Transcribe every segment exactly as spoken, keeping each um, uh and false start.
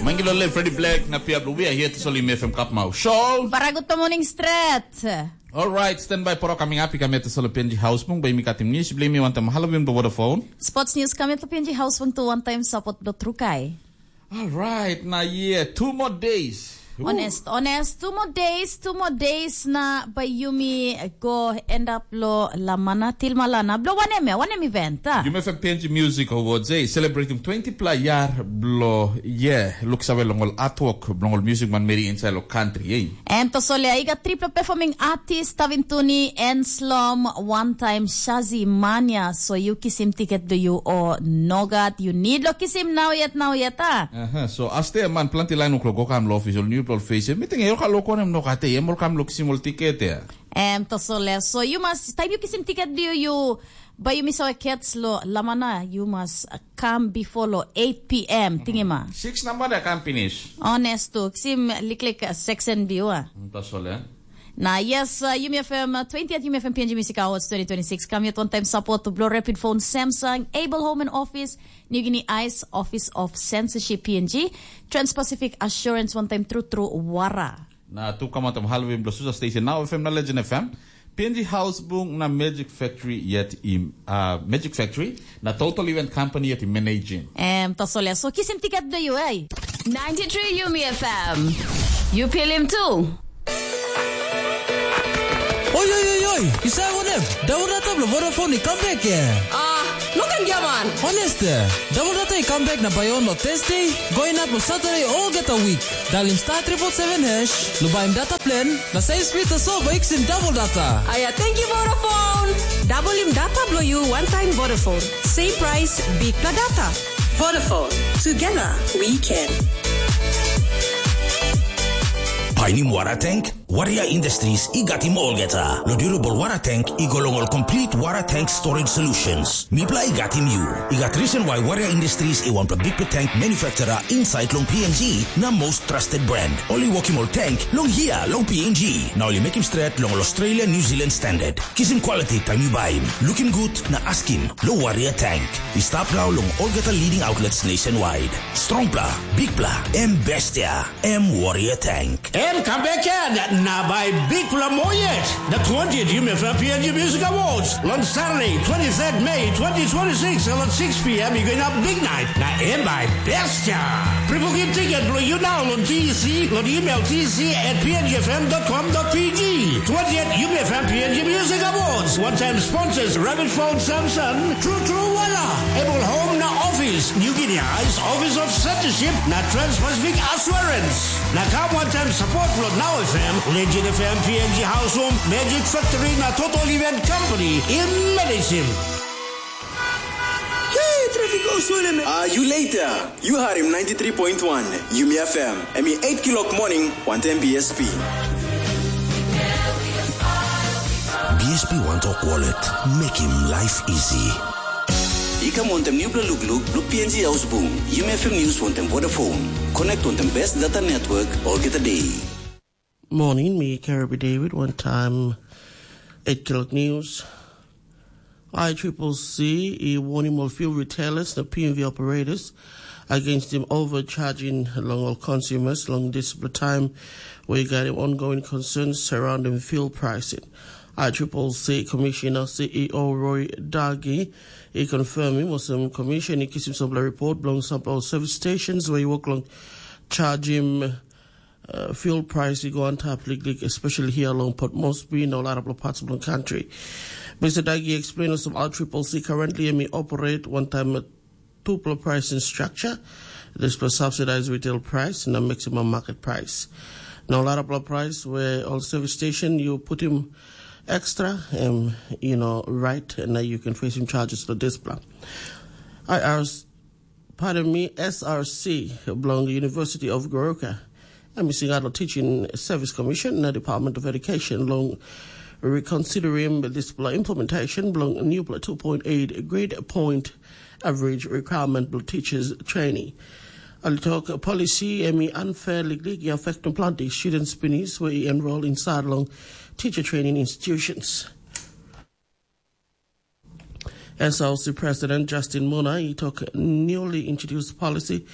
Mangilo le Freddy Black na pia blue. We are here to soli me from Kapmau. Show. Baraguto morning stret. All right, stand by poro coming up. Ikame to soli penji house mung by mi katim nish blame me wantam Halloween by Vodafone. Sports news kame to penji house mung to one time support do trukai. All right, now yeah, two more days. Ooh. Honest, honest, two more days, two more days na by yumi go end up lo lamana til malana. Blo wanem ya, wanem event, ah? Yumi fek penji music awards, eh? Celebrating twenty pla yar blo, yeah. Looks away long all artwork, long all music man meri inside lo country, eh? Em to solia, i gat tripla performing artist, Tavintuni, Enslom, one time Shazi Mania. So you kisim ticket do you or nogat? You need lo kisim now yet, now yet, ah? Aha, so aste man planti lain uklo go kam lo official new people face. Mi ting e ka lo konem no kate, em ol kam lo kisim ol ticket ya. Em to solia. So you must, time you kisim ticket do you, but you miss our cats lo lamana, you must, uh, come before lo eight p m. Tingima. Six number da kam finish. Honest to, kisim liklik, uh, section viewer. To solia. Na yes, uh, Yumi F M, uh, twentieth Yumi F M P N G Music Awards twenty twenty-six. Come yet one time support to Blue Rapid Phone, Samsung, Able Home and Office, New Guinea Ice, Office of Censorship P N G, Trans-Pacific Assurance, one time True True Wara. Na tu kamatam Halloween blo Susa Station, Now F M na Legend F M, P N G House Bung na Magic Factory yet im, uh, Magic Factory, na Total Event Company yet im managing. Em, to solia. So kisim ticket do you, eh? Ninety-three Yumi F M. You feel him too? Oi, oi, oi, oi, i save wanem? Daun data bilong Vodafone i kam bek, eh? Ah, no ken giaman. Honest, eh? Daun data i kam bek na bai on lo Thursday, go inap lo Saturday olgeta week. Dalim star triple seven hash, lo baim data plan, na save speed tasol bai iksim double data. Aya, thank you Vodafone. Dabulim data bilong you one time Vodafone. Same price, big na data. Vodafone. Together, we can. Painim wara tank? Warrior Industries i gatim olgeta. Lo durable wara tank i go long ol complete wara tank storage solutions. Mipla i gatim you. I gat reason why Warrior Industries i wanpela big tank manufacturer inside long P N G na most trusted brand. Oli wokim ol tank long hia long P N G. Na oli mekim stret long ol Australia New Zealand standard. Kisim quality time you buy. Looking good na askim lo Warrior Tank. I stap now long olgeta leading outlets nationwide. Strongpla, bigpla, em bestia, em Warrior Tank. Em kam bek na bai bikpela moa yet. The twentieth Yumi F M P N G Music Awards long Saturday, twenty-third May twenty twenty-six, long six p.m. i go inap big night. Na em bai bestia. Pre-booking ticket bilong you now long T E C, long email T E C at P N G F M dot com dot P G. Twentieth Yumi F M P N G Music Awards. One time sponsors Rabbit Phone Samson, True True Wala, Able Home na Office, New Guinea Ice Office of Censorship na Trans-Pacific Assurance. Na kam one time support lo Now F M, Legend F M, P N G House Home, Magic Factory na Total Event Company. Imagine. Hey, traffic go slowly, man. Ah, you later. You heard him ninety-three point one, Yumi F M. Emi eight kilok morning, one ten B S P. B S P One Talk Wallet, make him life easy. I kam wantem nupela lukluk, bilong P N G Ausbung, Yumi F M News wantem Vodafone. Connect wantem best data network, olgeta day. Morning, me Kirby David, one time eight o'clock news. I triple C, i warning all fuel retailers, the P M V operators, against them overcharging long all consumers long this time. We got ongoing concerns surrounding fuel pricing. I triple C Commissioner C E O Roy Dagi, he confirming was some commission, he gives himself a report belong some service stations where he work long charge him uh, fuel price i go on top liklik, especially here along Port Moresby and a lot of parts of the country. Mister Dagi explained some R triple C currently may operate one time at two pricing structure. This plus subsidized retail price and a maximum market price. Now a lot of price where on service station you put him extra, um, you know, right, and now you can face him charges for this plan. I asked Pardon me, S R C, belong University of Goroka. I'm missing out on Teaching Service Commission na Department of Education long reconsidering this implementation belong new two point eight grade point average requirement belong teachers training. I'll talk policy emi unfairly affecting plenty students beneath where enroll inside long teacher training institutions. S L C President Justin Muna, he took newly introduced policy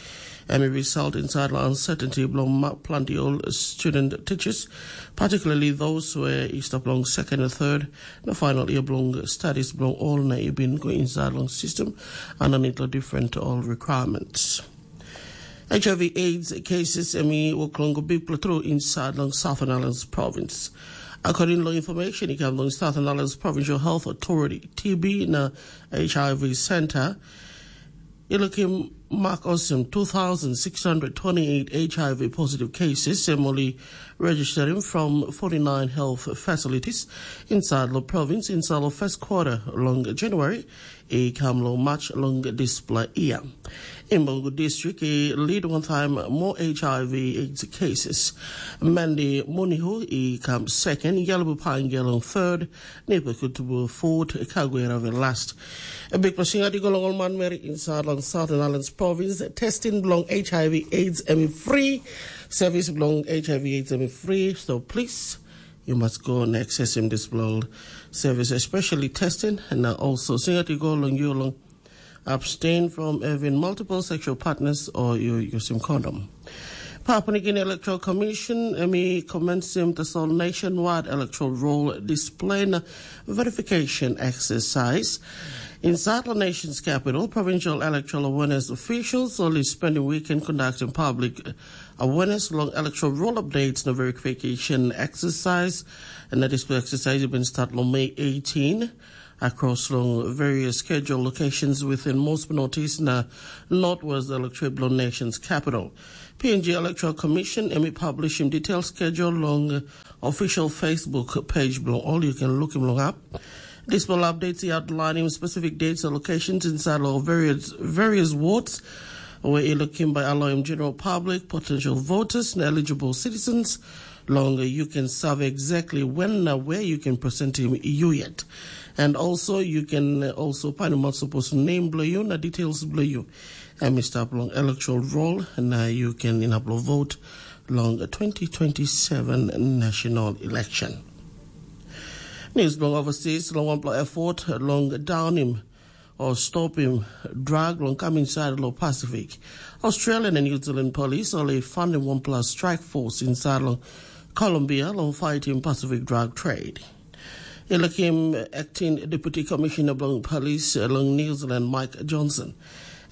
Em i result insait long uncertainty bilong planti ol student teachers, particularly those who i stap long second and third na final year bilong studies bilong ol na i bin go insait long system underneath long different ol requirements. H I V AIDS cases em i wok long go bikpela tru insait long Southern Islands Province. According long information i kam long Southern Islands Provincial Health Authority, T B na H I V Center, i lukim mak olsem two thousand six hundred twenty-eight H I V positive cases em ol i registerim from forty-nine health facilities insait long province insait long first quarter long January i kam long March long dispela year. Imbogo district i lead wantaim more H I V AIDS cases. Mandi Munihu i kam second, Yalabu Pangel long third, Nipa Kutubu fourth, Kaguera ve last. A big pasinga di go long ol manmeri insait long Southern Islands Province. Testing bilong H I V AIDS em i free. Service bilong H I V AIDS em i free. So please, you must go and access him this bilong service, especially testing and also singa di go long you long abstain from having multiple sexual partners or you using condom. Papua New Guinea Electoral Commission em i commencim tasol nationwide electoral roll display na verification exercise. Inside the nation's capital, provincial electoral awareness officials only spending weekend conducting public awareness long electoral roll updates na verification exercise. And that is exercise been start long May eighteen across long various schedule locations within most notice na northwest electorate bilong nation's capital. P N G Electoral Commission em i publishim detailed schedule long official Facebook page bilong all you can look him long up. Dispela updates i outlining specific dates and locations inside of various, various wards where i looking by allowing general public, potential voters and eligible citizens longer you can serve exactly when na where you can present him you yet. And also you can also find him out supposed name bilong you na details bilong you. And Mr. Long electoral roll na you can inaplo vote long twenty twenty-seven national election. News bilong overseas long wanpela effort long downim o stopim drag long kam insait long Pasifik. Australia na New Zealand polis ol i fandim wanpela strik fos insait long Colombia long fightim Pasifik drug trade. I lukim acting deputy commissioner bilong polis long New Zealand, Mike Johnson.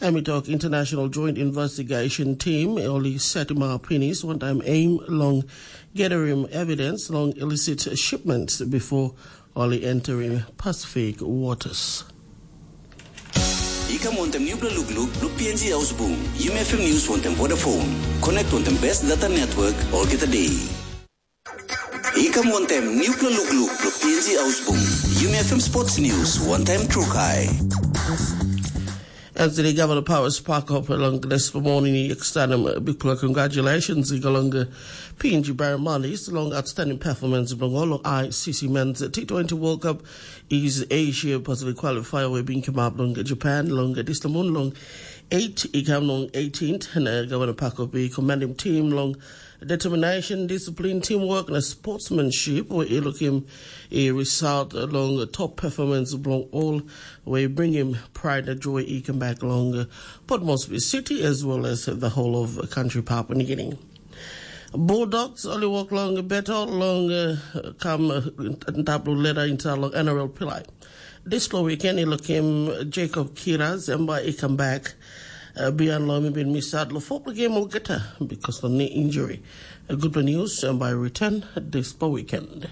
Em i tok international joint investigation team ol i setim up pinis wantaim aim long gathering evidence long illicit shipments before ol i entering Pacific waters. I kam wantem nupela lukluk bilong P N G Haus Bung. Yumi F M News wantem Vodafone. Connect wantem best data network olgeta day. I kam wantem nupela lukluk bilong P N G Haus Bung. Yumi F M Sports News wantem Trukai. Anthony Governor Powers Parkop long this morning i extendem bikpela congratulations i go long P N G Barramundi long outstanding performance bilong ol long I C C Men's T twenty World Cup East Asia Pacific Qualifier we bin come up long Japan long this moon long eight i kam long eighteenth and uh, Governor Parkop i commend him team long determination, discipline, teamwork na sportsmanship we i lukim i result long top performance bilong all we bring him pride na joy i come back long Port Moresby City as well as the whole of country Papua New Guinea. Bulldogs ol i wok long beto long uh, kam uh, ntap long leda insait long N R L pilai. Dispela weekend i lukim Jacob Kiras em bai i kam bek uh, bihain long em i bin misat long fopela gem olgeta bikas long ni injuri. Gutpela nius em bai i return dispela weekend.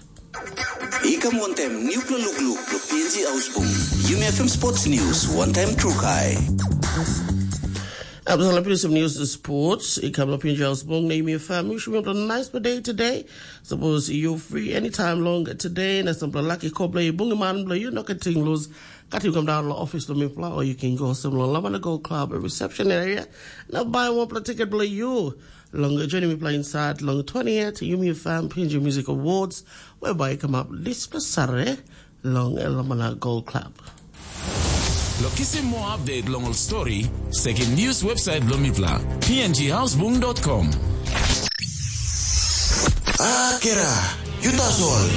I kam wantem nupela lukluk long P N G Haus Bung. Yumi F M Sports News wantem Trukai. Absala pinis of news sports. I kam long P N G Haus Bung na Yumi F M. Wishim you a nice day today. Suppose you free anytime long today na sampela lucky kobla i bungim man bilong you no kating lose. Katim kam down long office long mipela or you can go some long Lamana Gold Club reception area. Na buy one ticket bilong you. Long joining mipela inside long twentieth Yumi F M P N G Music Awards whereby come up this Saturday long Lamana Gold Club. Lo kisim more update long ol story, sekim news website bilong mipela, P N G houseboom dot com. Akira, you that's all.